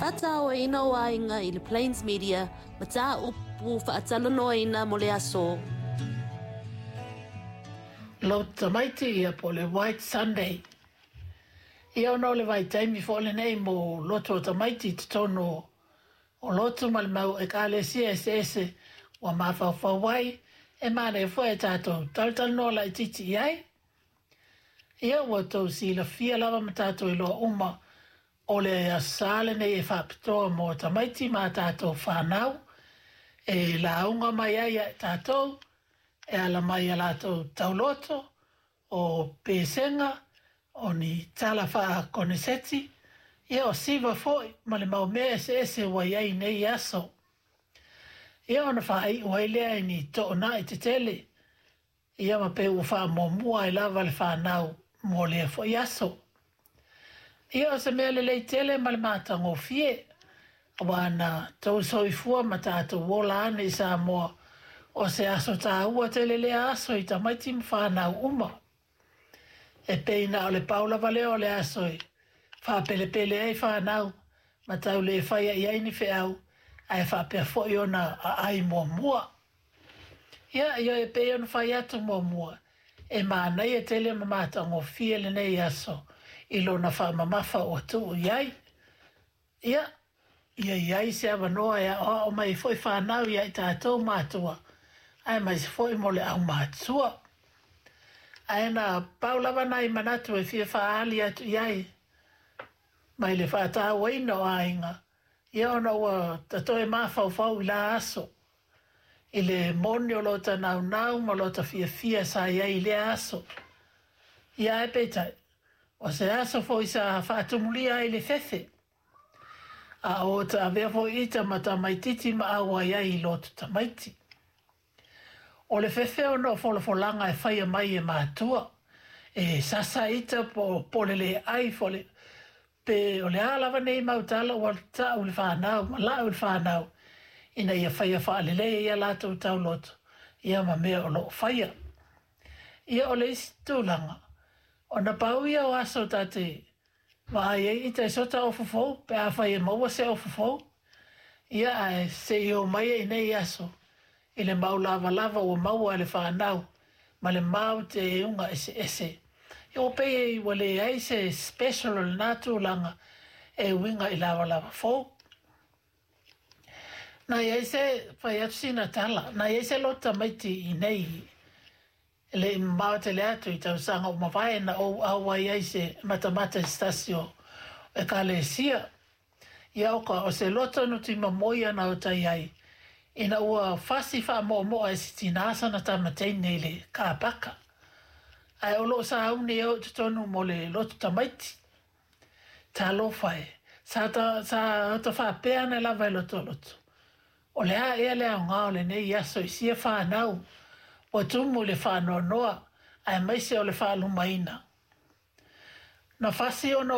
Faataoina o aiga i le Plains Media mataupu faatalanoaina mo le aso. Lotu tamaiti ia po o le White Sunday. Ia ona o le vaitaimi foi lenei mo lotu o tamaiti i totonu o lotu ma le mau ekalesia eseese ua mafaufau ai e manaia foi e tatou talatalanoa laitiiti i ai. Ia ua tou silafia lava ma tatou iloa uma o le Aso Sa lenei e faapitoa mo tamaiti ma a tatou fanau e lauga mai ai ia i tatou e ala mai i a latou tauloto, o pesega, o ni tala faakoneseti, ia o siva foi ma le mau mea eseese ua i ai i nei aso. Ia ona faaiu ai lea i ni toonai tetele Ia ma pei ua faamuamua ai lava le fanau mo lea foi aso. Ia o se mea lelei tele ma le matagofie, aua na tou soifua ma tatou ola ane i Samoa, o se aso taua tele lea aso i tamaiti ma fanau uma. E pei na o le pau lava lea o le aso e faapelepele ai fanau ma tau le faia i ai ni feau, ae faapea foi ona aai muamua. Ia, ioe, e pei ona fai atu muamua, e manaia tele ma matagofie lenei aso i lona faamamafa ua tuu i ai. Ia, ia i ai se avanoa e aoao mai ai foi fanau ia i tatou matua, aemaise foi mo le aumatua. Ae na pau lava nai manatu e fia faaali atu i ai mai le faatauaina o aiga, ia ona ua ta toe mafaufau i la aso, i le moni o lota naunau ma lota fiafia sa i ai i lea aso. Ia ae peitai, o se aso foi sa faatumulia ai le fefe, a o ta avea foi ita ma tamaititi ma auai ai i lotu tamaiti. O le fefe ona o folafolaga e faia mai e matua, e sasa ita po o le le ai fo Pe o le a lava nei mau tala ua ta'u i le fanau ma la'u i le fanau ina ia faia faalelei ai a latou tauloto ia ma mea o lo o faia. Ia o le isi tulaga, ona pau ia o aso ta te vaai ai ita i sota ofu fou pe afai e maua se ofu fou, ia ae se i oo mai i nei aso i le mau lavalava ua maua e le fanau ma le mau teuga eseese. Ia ua pei ai ua leai se special o lena tulaga e uiga i lavalava fou. Na i ai se, fai atu sina tala, na i ai se lotu tamaiti i nei e le i mamao tele atu i tausaga ua mavae na ou auai ai se matamata i se tasi o ekalesia. Ia oka, o se loto nutima moi ana o tai ai, ina ua fasi faamoomoa e se tinā sana tama teine i le kāpaka. Ae o lo o sauni e o i totonu mo le lotu tamaiti. Talofa e, sa ta, sa ota faapea ane lava i lotoloto, o le a ea le aoga o lenei aso i sia whānau, ua tumu i le faanoanoa, aemaise o le faalumaina. Na fasi ona